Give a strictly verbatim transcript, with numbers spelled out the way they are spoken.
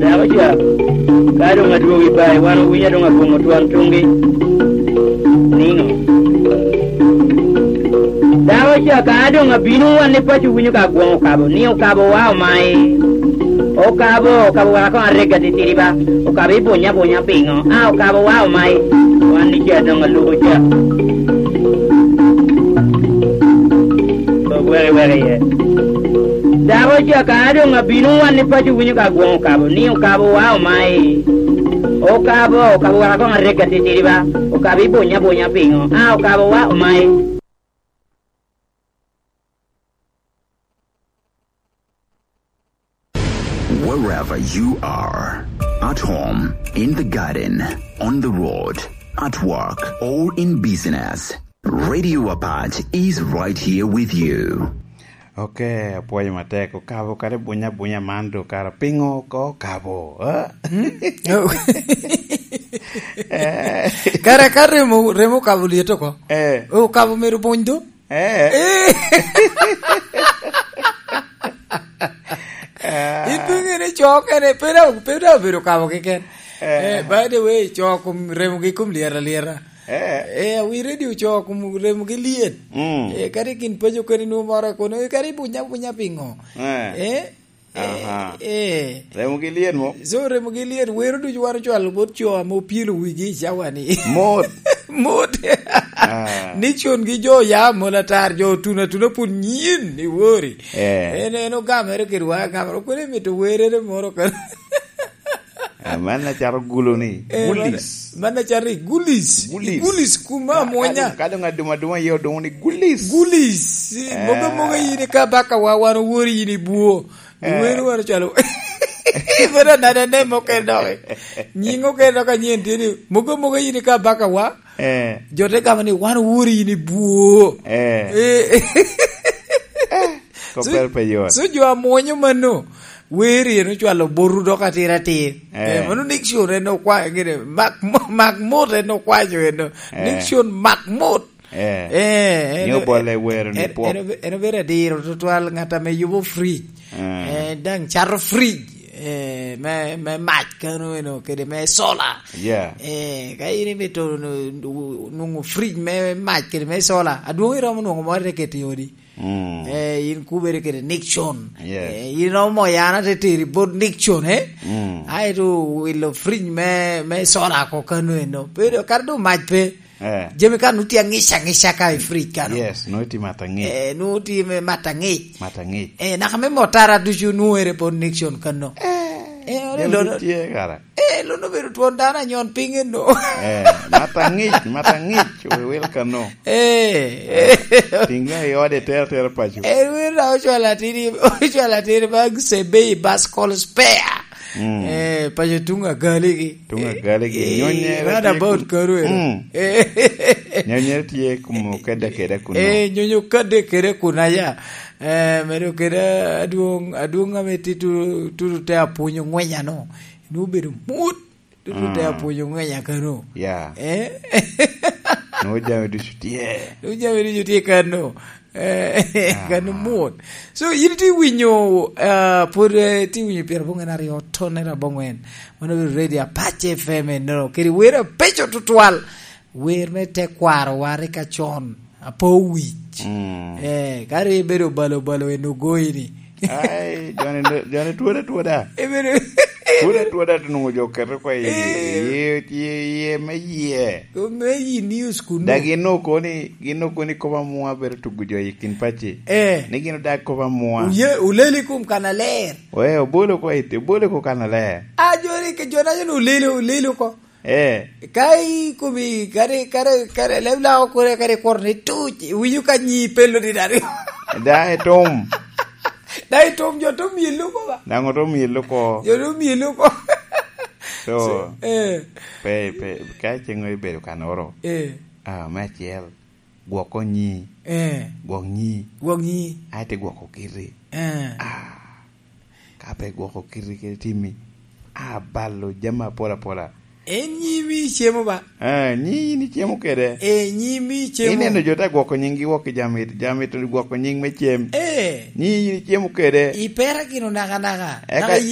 Dako ca, ka doŋ adwogo i bayi, wan owinyo doŋ abwoŋo twon tuŋgi. Niŋo? Dako ca, ka doŋ abino, wan i paco winyo ka agwoŋo okabo, ni okabo wa omayi. Okabo, okabo wara koŋ arega titidi ba. Okabo ibunya bunya piŋo? A, okabo wa omayi. Wan ni ca doŋ alubo ca. Weke, weke iye. Dako ca, ka doŋ abino, wan i paco winyo ka agwoŋo okabo, ni okabo wa omayi. Okabo, okabo wara koŋ arega titidi ba. Okabo ibunya bunya piŋo? A, okabo wa omayi. Wherever you are, at home, in the garden, on the road, at work, or in business, Radio Apac is right here with you. Ok, apwoyo matek. Okabo kadi bunya bunya man do kara piŋo oko okabo, eh? Hmm? Oh. Eh. Kara ka remo, remo okabo lyet oko. Eh. Okabo myero buny do. Eh. Eh. Ah. Ipiŋo ni co kene, pe da, pe da obedo kabo keken. Eh. Eh, by the way, co kom, remogi kom lyet alyeta. Eh. Eh, awi radio co kom remogi lyet. Mm. Eh, kadi kin paco kadi nwo moro kono, eh, kadi bunya bunya piŋo? Eh. Eh? Aha. Eh, eh. Remogi lyet mo? So, remogi lyet, wero ducu wan ocwalo bot co ame opyelo wigi i cawa ni. Mot. Mot. Ah. Nixon gi jo ya mola tar, jo tuno atuna pun nyin i wori. Eh. En, en ogamere kede wa agamere. Kwene mito werere moro ka. Ah, man acaro gulo ni. Eh, man, gulis. Man acaro i gulis. Gulis. I gulis kuma ka, amwonya. Ka doŋ, ka doŋ aduma aduma iye odoŋo ni gulis. Gulis. Eh. Moga moga yin i ka baka wa, wan owori yin i bwo. Eh. Iwero wano calo. Ibedo anada ne mokene dok. Nying okene dok anyen tye ni, mogo mogo yin ka baka wa. Eh. Jo te gamo ni, "Wan owori yin i bwo." Eh. Eh. Eh, so, kopel pe yot. So jo amwonyo mano, weri en ocwalo boru dok atir atir. Eh. Eh, mano Nixon en okwayo gire, mak mo-, mak mot en okwayo eno. Eh. Nixon mak mot. Eh. Eh, en, ni obolle wero ni en, pwok. En, en obedo adiro tutwal, ŋat ame yubo fridge. Eh. Eh, daŋ cato fridge, eh, me, me mac kano eno, kede me solar. Yeah. Eh, ka in imito nu-, nu-, nwoŋo fridge me mac kede me solar, adwoŋ iromo nwoŋo moro te keto i odi. Mm. Eh, in kubere kede Nixon. Yes. Eh, in iromo moyo an ate teri bot Nixon, eh? Mm. Aeto wilo fridge me, me solar ko kano eno. Pero kara doŋ mac pe. Eh. Jami ka nutye aŋic aŋica ka i fridge kano. Yes, nutye mat aŋic. Eh, nutye me mat aŋic. Mat aŋic. Eh, naka me motara ducu nwoŋere bot Nixon kano. Eh, eh, jami lono, tye kara. Eh, lono bedo twon dano anyon piny eno. Eh, mat aŋic, mat aŋic, we wil kano. Eh. Eh, tiŋ i ode, ter, ter paco. Eh, wil na ocwalo atiri, ocwalo atiri ba sebei bas kol spare. Mm. Eh, paco tuŋ agaligi. Tuŋ agaligi. Eh, nyonye round about karu eno. Mm. Eh. Nyonye tye kumo kede kede kuno. Eh, nyonyo kede kede kuno aya. Eh, medo kede adwoŋ, adwoŋ ame tye tutu, tutu te apwonyo ŋwenya no. Nwoŋo bedo mut. Tutu te apwonyo ŋwenya kano. Yeah. Eh? Nwoŋo jami ducu tye. Nwoŋo jami ducu tye kano. Eh, kano mot. So, in itye winyo, ah, pwod, eh, itye winyo pyeraboŋwen aryo tonere abongwen. Mano bedo Radio Apache F M eno. Kede wer abeco tutwal. Wer me tekwarowa rik acon. Apo wic. Mm. Eh, ka ri ibedo balo balo en ogoyi ni. Ai, joni, joni twode twoda. Ibedo twode twoda, to nwoŋo jo keto kwa i, eh, i, i, i, me yie. Ko me yi news kuno. Da gin okoni, gin okoni kop amwa bedo tugo jo i kin paci. Eh. Ni gin odag kop amwa. Uye, uleli kum kana ler. We, obolo kwa ite, obolo ko kana ler. A, joni ke, jona joni uleli, uleli ko. Eh. Ka ikomi, kare, kare, kare, leb lao kore, kare kwor ni tuc, winyo ka nyi pelo ni dari. Da itum. Da itum, jo tum yelo ko ba. Daŋ otum yelo ko. Jo tum yelo ko. So, so, eh, pe, pe, ka ceng ibedo kanoro. Eh. Ah, me acel. Gwoko nyi. Eh. Gwok nyi. Gwok nyi. Aye te gwoko kiti. Eh. Ah. Ka pe gwoko kiti kede timmi, abalo jami apol apola. En nyi mi icemo ba? Eh, nyi in icemo kede. Eh, nyi mi icemo. Ineno jo te gwoko nyinggi wok i jami, jami to gwoko nying me cem. Eh. Nyi in icemo kede. Ipera gino naka naka. Eka naka